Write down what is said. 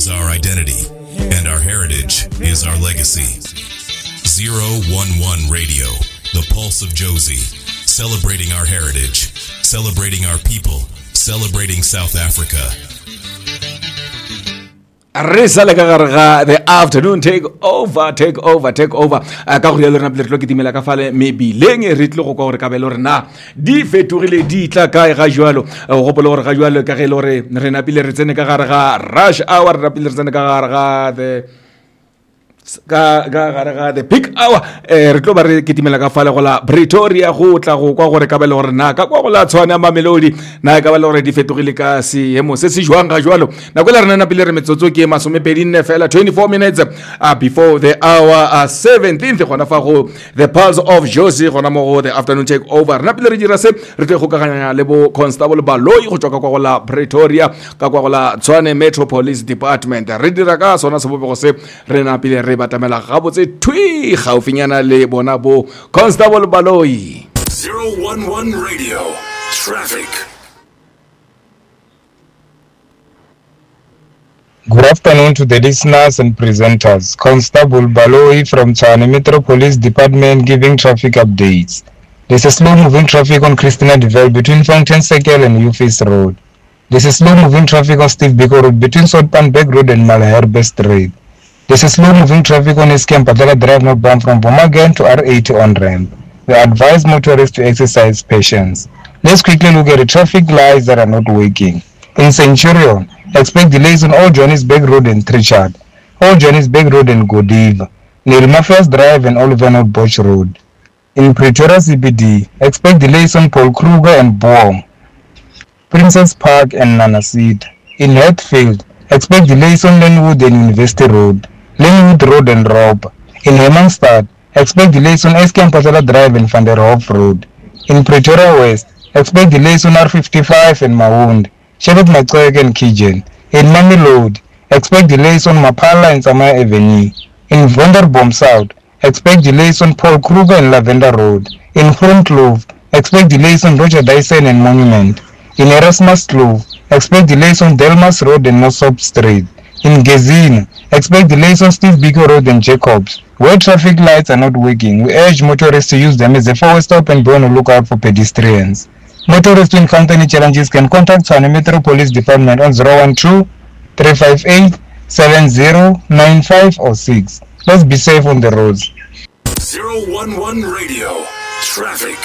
is our identity, and our heritage is our legacy. 011 Radio, the pulse of Jozi, celebrating our heritage, celebrating our people, celebrating South Africa. Re sa le ka gare ga the afternoon take over, take over, take over. Ka go rialo re napile re tlo kitimela ka fale mebileng, re tlile go kwa gore kabelo re na di fetogile di tla kae ga jwalo. O gopole gore ga jwalo ka ge e le gore re napile re tsene ka gare ga rush hour, re napile re tsene ka gare ga the ka ka gare ga the peak hour, re tlo ba re kitimela ka fale go la Pretoria go tla go kwa gore ka ba le gore na ka kwa go la Tshwane Mamelodi na ka ba le gore di fetogile ka seemo se se jwang ga jwalo. Nako e le rena napile re metsotso ke 24 fela, 24 minutes before the hour 17th, gona fa go the pulse of Jozi, gona mo go the afternoon take over. Re napile re dira se, re tlo kgokaganya le bo Constable Baloyi go tswa ka kwa go la Pretoria, ka kwa go la Tshwane Metro Police Department. Re dira ka sona sebopego se, re napile re batamela gabotse thwi gaufinyana le bona bo Constable Baloyi. 011 Radio Traffic. Good afternoon to the listeners and presenters. Constable Baloyi from Tshwane Metro Police Department giving traffic updates. There's a slow-moving traffic on Christina Devel between Fountain Circle and Ufis Road. There's a slow-moving traffic on Steve Biko Road between Soutpanberg Road and Malherbe Street. There's a slow-moving traffic on SK Mpatela Drive northbound from Bomagen to R80 on-ramp. We advise motorists to exercise patience. Let's quickly look at the traffic lights that are not working. In Centurion, expect delays on Old Johannesburg Road and Trichardt, Old Johannesburg Road and Godiva, Nellmapius Drive and Oliver North Road. In Pretoria CBD, expect delays on Paul Kruger and Boom, Princess Park and Nanasita. In Hatfield, expect delays on Lynnwood and University Road, Lynnwood Road and Rob. In Hermanstad, expect delays on SK Mpatela Drive and Van der Hoff Road. In Pretoria West, expect delays on R55 and Maund, Shepherd Macheke and Kijen. In Mamelodi, expect delays on Maphala and Samaya Avenue. In Wonderboom South, expect delays on Paul Kruger and Lavender Road. In Groenkloof, expect delays on Roger Dyson and Monument. In Erasmus Kloof, expect delays on Delmas Road and Nosop Street. In Gezina, expect delays on Steve Biko Road and Jacobs. Where traffic lights are not working, we urge motorists to use them as a forward stop and be on the lookout for pedestrians. Motorists who encounter any challenges can contact Tshwane Metro Police Department on 012-358-7095 or 6. Let's be safe on the roads. 011 Radio. Traffic.